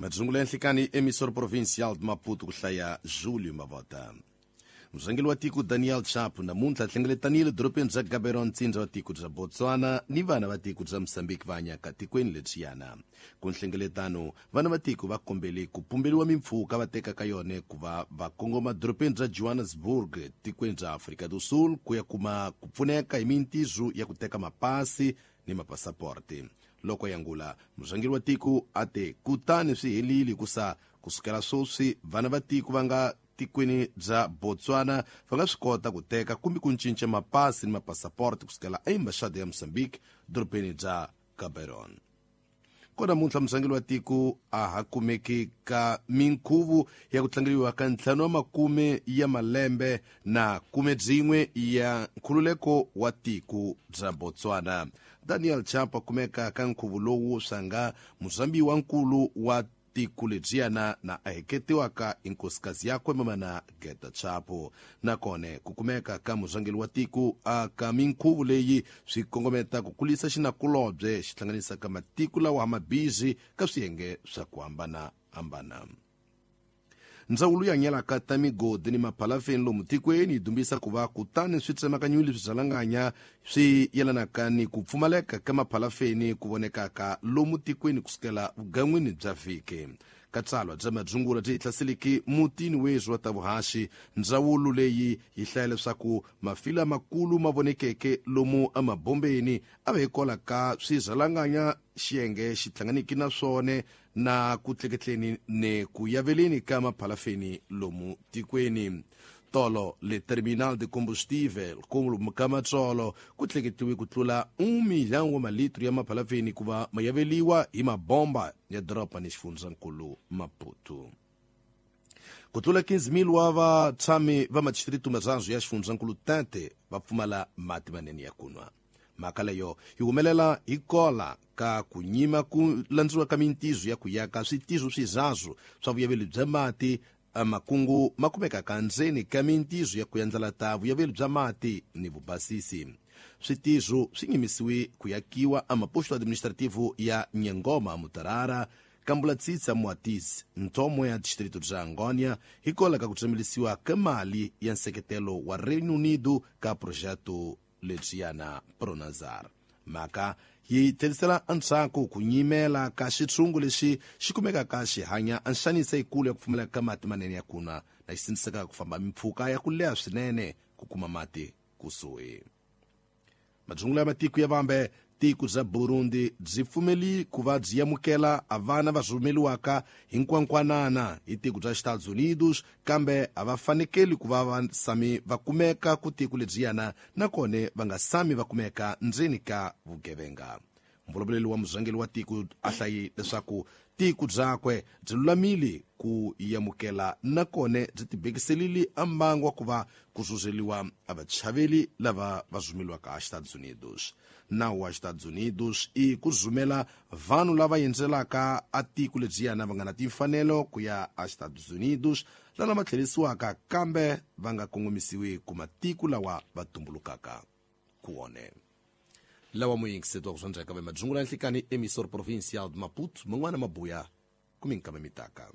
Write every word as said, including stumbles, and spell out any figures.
Madzungula ya nhlikani emissor provincial de Maputo ku hlaya Julio Mavota. Murhangeri wa tiko Daniel Chapo namuntlha hlengeletanile dorobeni bya Gaborone ntsindza wa tiko bya Botswana ni vana va tiko bya Mozambique va hanyaka tikweni lebyiyana. Ku nhlengeletano vana va tiko va kombele ku pumberiwa mimpfhuka va tekaka yona ku va va kongoma dorobeni bya Johannesburg tikweni bya Afrika do Sul ku ya kuma ku pfuneka hi mintizo ya ku teka mapasi ni mapasaporti. Loko yangula murhangeri wa tiko a te kutani swi helile ku sa kusukela sweswi vana va tiko va nga tikweni bya Botswana va nga swi kota ku teka kumbe ku cinca mapasi ni mapasaporti kusukela eembaxada ya Mozambique dorobeni bya Gaborone. Kona namuntlha murhangeri wa tiko a ha kumeki ka minkhuvo ya ku tlangeriwa ka ntlhanu wa makume ya malembe na kume byin'we ya nkhululeko wa tiko bya Botswana. Daniel Chapo kumeka ka nkhuvo lowu swanga muzambi wa nkulu wa tiko lebyiyana na a heketiwaka hi nkosikazi yakwe mamana Geta Chapo. Nakona ku kumeka ka murhangeri wa tiko aka minkhuvo leyi swi kongometa ku kulisa xinakulobye xi hlanganisaka matiko lawa mabhizi ka swiyenge swa ku hambanahambana. Ndzawulo ya nyelaka ta migodi ni maphalafeni lomu tikweni yi dumbisa ku va kutani swi tsemakanyile swibyalanganya swi yelanaka ni ku pfumaleka ka maphalafeni ku vonekaka lomu tikweni kusukela vugan'wini bya vhiki. Ka tsalwa bya madzungula byi hlaseleke mutini weswi wa ta vuhaxi, ndzawulo leyi yi hlaya leswaku mafila makulu ma vonekeke lomu emabombeni a va hikola ka swibyalanganya xiyenge xi hlanganiki na swona na ku tleketleni ni ku yaveleni ka maphalafeni lomu tikweni. Tolo le terminal de combustível ku ka matsolo ku tleketiwe ku tlula un milhão wa malitro ya maphalafeni ku va ma yaveliwa hi mabomba ya doroba ni xifundzankulu Maputo. Ku tlula quinze mil wa vatshami va madistritu mazanzu ya xifundzankulu Tete va pfumala mati manene ya ku nwa. Mhaka leyo yi humelela hi kola ka ku nyima ku landziwa ka mintizo ya ku yaka switizo swizazu swa vuyaveli bya mati makungu ma kumekaka ndzeni ka mintizo ya ku yandlala ta vuyaveli bya mati ni vubasisi. Switizo swi nyimisiwe ku yakiwa amaposto administrativo ya Nyangoma Mutarara, Kambulatsitsa Muatisi, Ntomo ya distrito bya Angônia hi kola ka ku tsemelisiwa ka mali ya nseketelo wa Reino Unido ka projeto lebyiyana Pronazar. Mhaka yi tlherisela endzhaku ku nyimela ka xitshungu lexi xi kumekaka xi hanya anxanisa yikulu ya ku pfumaleka ka mati manene ya ku nwa na xi sindziseka ku famba mimpfhuka ya ku leha swinene ku kuma mati kusuhi. Madzungula ya matiko ya vambe tiko bya Burundi byi pfumeli ku va byi amukela a vana va rhumeliwaka hi nkwankwanana hi tiko bya Estados Unidos, kambe a va fanekeli ku va va sami va kumeka ku tiko lebyiyana nakona va nga sami va kumeka ndzeni ka vugevenga. Mvulavuleli wa murhangeri wa tiko a hlayi leswaku tiko byakwe byi lulamile ku amukela nakona byi tibekiselile a mbangu wa ku va ku zuzeliwa a vachaveli lava va rhumeliwaka Estados Unidos. Nawu wa Estados Unidos i ku rhumela vanhu lava endzelaka a tiko lebyiyana va nga na timfanelo ku ya a Estados Unidos lava ma tlherisiwaka kambe va nga kongomisiwi ku matiko lawa va tumbulukaka ku wona. Lawa muyingiseti wa ku swandzeka va madzungula ya nhlikani emissor provincial de Maputo man'wana mabuya kuminkama mitaka.